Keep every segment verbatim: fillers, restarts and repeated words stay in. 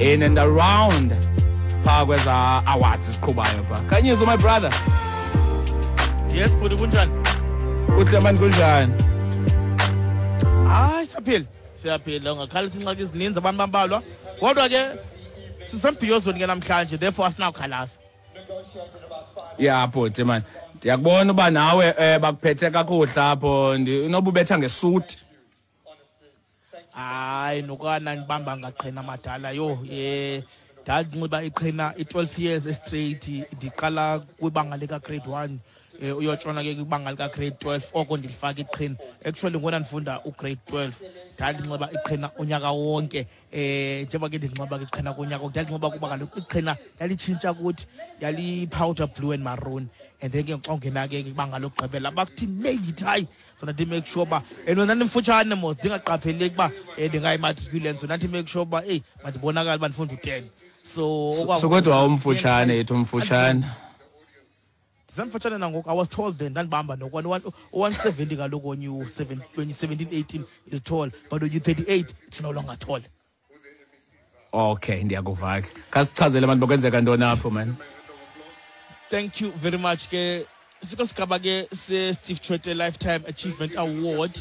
in and around phaa kweza awards ziqhubayo phaa. Khanyiso, my brother. Yes, bhuti, kunjani? Kuhle mani, kunjani? Hayi, siyaphila, siyaphila. Ungakhala ingxaki ezininzi, abantu bambalwa, kodwa ke sisembhiyozweni ke namhlanje, therefore asinawukhalaza. Ya bhuti man, ndiyakubona uba nawe um bakuphethe kakuhle apho. Ndi- inoba ubetha ngesuti. Hayi, nokana ndibamba ngaqhina madala yho. um ndandinxiba iqhina i-twelve years straight, ndiqala kwibanga lika-grade one um uyotshona ke kwibanga lika-grade twelve. Oko ndilifaka iqhina. Actually, ngona ndifunda u-grade twelve ndandinxiba iqhina unyaka wonke. um njengoba ke ndinxiba ke iqhina kunyaka, ndandinxiba kuba kaloku iqhina lalitshintsha kuthi yali-powder blue and maroon, and then ke xa ungena ke kwibanga lokugqibela bakuthi nail it hayi. So ndathi make sure uba, and wena ndimfutshane mos, ndingaqapheleki uba um ndingayi-matriculate, so ndathi make sure uba eyi, mandibonakale uba ndifunda u-ten. So So kodwa wawumfutshane, yithi umfutshane. Ndisemfutshane nangoku. I was tall then, ndandibamba nokwane u-one seventy kaloku. When you seven, when you seventeen, eighteen is tall, but when you thirty-eight it's no longer tall. Okay, ndiyakuva ke. Khasichazele abantu bokwenzeka ntoni apho man. Thank you very much ke. Siko sigaba ke se-Steve Tshwete Lifetime Achievement Award,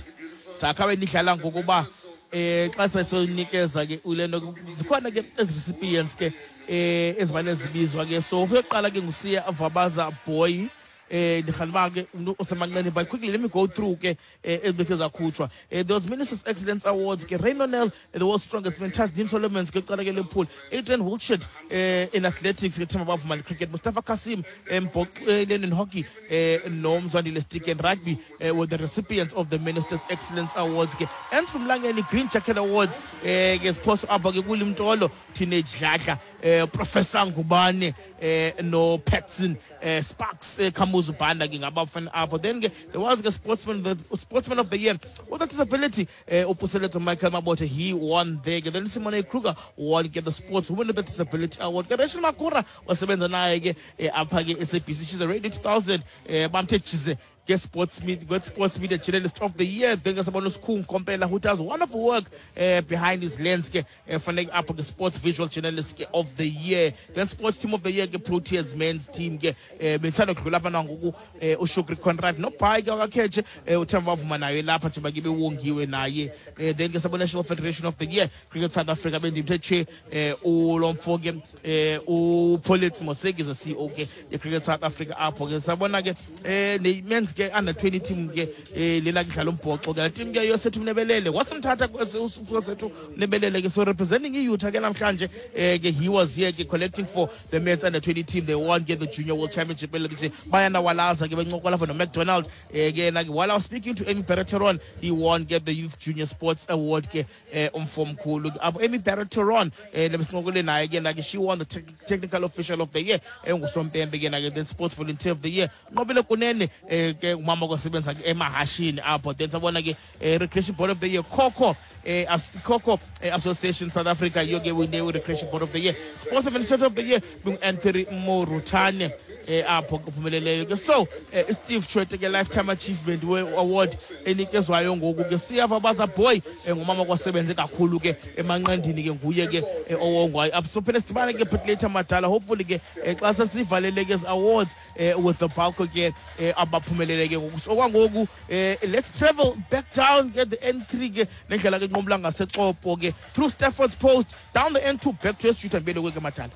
sakhabe nidlala ngokuba eh xa sesonikeza ke ulento, zikhona ke ezi recipients ke eh ezivane zibizwa ke. So uyoqala ke nguSiya Vabaza Boy. eh ndirhalela uba ke umntu osemanqeni, but quickly let me go through ke eh ezibekhe zakhutshwa. eh there was Ministers Excellence Awards ke: Rayno Nel, the world's strongest man; Tasneem Solomons ke, kuqala ke Liverpool; Adrian Wiltshire eh in athletics ke; Themba Bavuma cricket; Mustafa Cassim embhoxweni in hockey; eh noMzwandile Stick in rugby eh, were the recipients of the Ministers Excellence Awards ke. And from Langeni Green Jacket Awards eh ke siphoso apha ke kulimtolo Teenage Dladla, eh Professor Ngubane eh no Patson eh Sparks eh, Kamuzu Banda ke ngabafana apho. Then ke there was ke sportsman the sportsman of the year with a disability, eh uPuseletso Michael Mabote, he won there ke. Then Simone Kruger won ke the sports woman with a disability award ke. Rachel Makura wasebenza naye ke eh, apha ke S A B C, she's a Radio two thousand, eh bamthe jize ke sports media, sports media journalist of the year. Then ke sabona uSkhung Kompela, who does wonderful work uh, behind his lens ke, uh, fanele apho ke sports visual journalist ke of the year. Then sports team of the year ke, Proteas men's team ke, eh bethanda kudlula apha nangoku eh uShukri Conrad noBhayi ke wakakheje, eh uThemba Bavuma naye lapha njengoba ke bewongiwe naye. eh then ke sabona National Federation of the Year, Cricket South Africa, bendimthe che eh ulomfo ke eh uPholetse Moseki, the C E O ke ye Cricket South Africa apho ke. Sabona ke eh ne men's ke under twenty team ke, eh lela kudlala umbhoxo ke, la team ke yosethu Mnebelele wasimthatha usethu Mnebelele ke, so representing iUtah ke namhlanje eh ke, he was here ke collecting for the men's under twenty team. They won ke the Junior World Championship elithi bayana walaza ke bencokola for no McDonald eh ke na. While I was speaking to Amy Barreteron, he won ke the Youth Junior Sports Award ke, eh umfo omkhulu apho Amy Barreteron eh lebesincokole naye ke na ke, she won the te technical official of the year, engusompempe ke na ke. Then sports volunteer of the year, Nqobile Kunene eh ke, umama kwasebenza ke emahashini apho. Then sabona ke eh, recreation board of the year, Coco eh, as Coco eh, Association South Africa yiyo ke wine recreation board of the year. Sports administrator of the year Anthony Morutane eh apho kuphumeleleyo ke. So eh, Steve Tshwete ke Lifetime Achievement Award enikezwayo ngoku ke, Siyava Baza Boy, eh, ngumama kwasebenze kakhulu ke emanqandini ke, nguye ke eh, owongwayo apho. So phela sidibane ke bit later madala, hopefully ke eh, xa sesivalele ke awards eh, with the bulk ke eh, abaphumelele ke ngoku. So okwangoku eh, let's travel back down ke the N three ke, nendlela ke nqumla ngaseXopo ke, through Stafford's Post, down the N two, back to Street and Bele ke madala.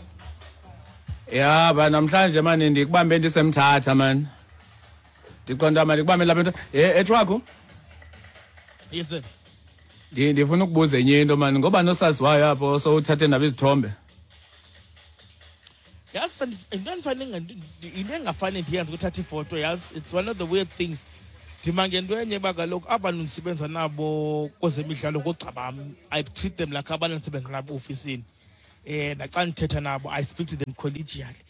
Ya ba, namhlanje mani ndikubambe ndisemthatha mani, ndiqonda mani ndikubambe lapha into eh ethwaku. Yes sir. Ndi- ndifuna ukubuza enye into mani, ngoba nosaziwayo apho sowuthathe nabo izithombe. Yazi, into endifane into engafane ndiyenze ukuthatha ifoto, yazi, it's one of the weird things. Ndima ngento enye uba kaloku abantu ndisebenza nabo kwezemidlalo ngoogxa bam. I treat them like abantu endisebenza nabo ofisini. um naxa ndithetha nabo, I speak to them collegially.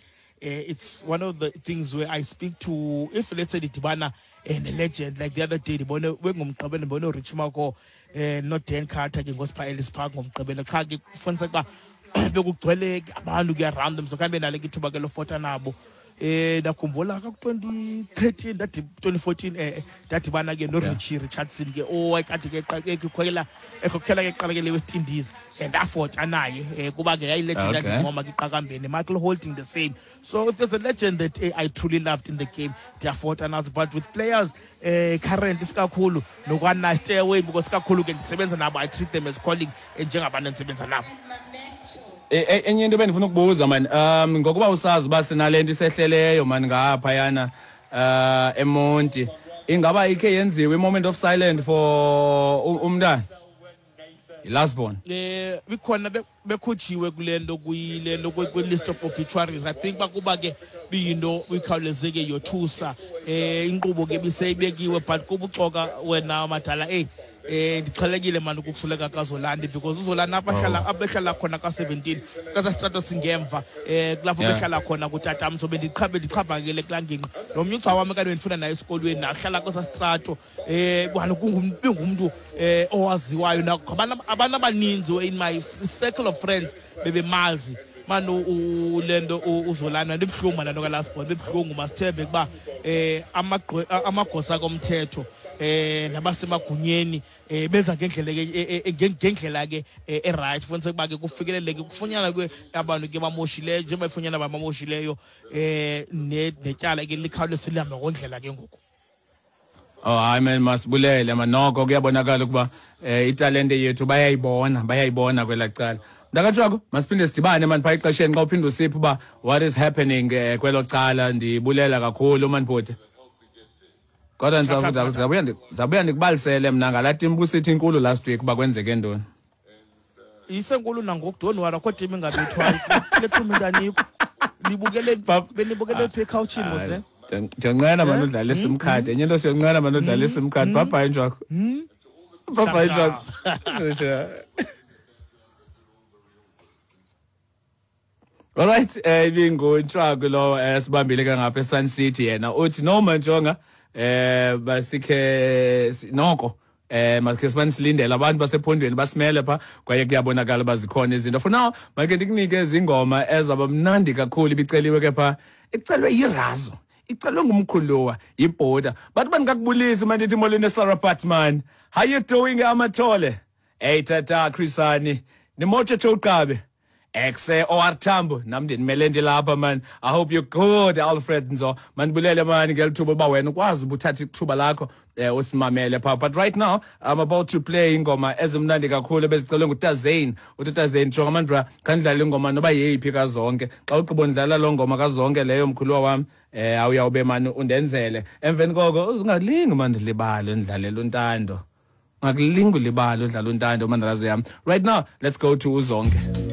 uh, it's one of the things where I speak to, if let's say ndidibana um ne-legend, like the other day ndibone bengomgqibelo, ndibone uRich Mako um noDan Carter ke ngosipha Ellis Park ngomgqibelo, qha ke kufuniseka uba bekugcwele abantu ke around them, so khange benalo ke ithuba ke lofota nabo. Eh ndakhumbula ka twenty thirteen that twenty fourteen eh ndadibana ke no Richie Richardson ke owayekade ke ekhokhela ekhokhela ke eqala ke le West Indies and afota naye kuba ke yayi legend yandincoma ke iqakambeni. Michael Holding the same. So if there's a legend that eh, I truly loved in the game, ndiyafota nazo. But with players eh current isikakhulu nokwana stay away because kakhulu ke ndisebenza nabo, I treat them as colleagues njengabantu endisebenza nabo. Enye into bendifuna ukubuza man, um ngokuba usazi uba sinale nto isehleleyo man ngaphayana uh eMonti, ingaba ikhe yenziwe i-moment of silence for umntana i-last born? Eh bikhona bekhujiwe kule nto kuyile nto kwi-list of obituaries. I think bakuba ke biyinto ikhawulezeke yothusa eh inkqubo ke biseyibekiwe, but kubuxoka wena madala eh eh ndixhelekile manje ukusuleka kaZolani because uZolani abahlala abehlala khona ka seventeen kasastrato singemva eh kulapho behlala khona kutatam, so bendiqhabe ndiqhabakele kulangingqi nomnye ugca wami kanti bendifuna naye esikolweni nahlala kwasastrato eh kungumntu eh owaziwayo nabantu abantu abaninzi in my circle of friends bebemazi man ulendo uZolani. Ndibuhlungu manje ka last born, bebuhlungu masithembe kuba eh amagosa komthetho eh nabasemagunyeni eh benza ngendlela ke ngendlela ke e right futhi kuba ke kufikeleleke kufunyana ke abantu ke bamoshileyo njengoba ifunyana abamoshileyo eh netyala ke likhawuleze lihambe ngondlela ke ngoku. Oh hayi man, masibulele man, noko kuyabonakala ukuba italente yethu bayayibona bayayibona kwela cala. Ndakatshwako masiphinde sidibane man phaa exesheni xa uphinde usiphe uba what is happening kwelo cala. Ndibulela kakhulu man bhuti. Kodwa ndizabuya ndizabuya ndikubalisele mna ngalaa tim busithi inkulu last week uba kwenzeke ntoni. Isenkulu nangoku, don't worry, akho tim ingabethwayo kule tim intanikho. Nibukele benibukele phi ekhawutshini mos. Ndiyanqena mani udlala iSIM card. Enye into siyanqena mani udlala iSIM card. Bye bye Njwako. Bye bye Njwako. All right, eh ibinguNtshwaku lo sibambile ke ngapha eSun City yena. Uthi no manjonga eh basikhe noko eh masikhe sibani silindele abantu basephondweni basimele pha kwaye kuyabonakala bazikhona izinto. For now make ndikunike izingoma ezabamnandi kakhulu ibiceliwe ke pha icelwe yirazo. Icelwe ngumkhuluwa yibhoda. Bathi bandingakubulisi manje ndithi molweni Sarah Patman. How you doing Amathole? Hey tata Chrisani. Nimotshe Choqabe. Exe O R Tambo nam ndinimele ndilapha man. I hope you're good Alfred Nzo. Mandibulele man ngelithuba uba wena ukwazi ubuthatha ithuba lakho eh usimamele pha. But right now I'm about to play ingoma ezimnandi kakhulu bezicelwe nguTazane. Uthi Tazane jonga man bra khandidlala ingoma noba yeyiphi kazonke. Xa ugqiba ndidlala lo ngoma kazonke leyo mkhuluwa wami eh awuyawube man undenzele. Emveni koko uzingalingi man ndilibale ndidlalela uNtando. Ungakulingi ulibale udlala uNtando mandalazi yami. Right now let's go to uZonke.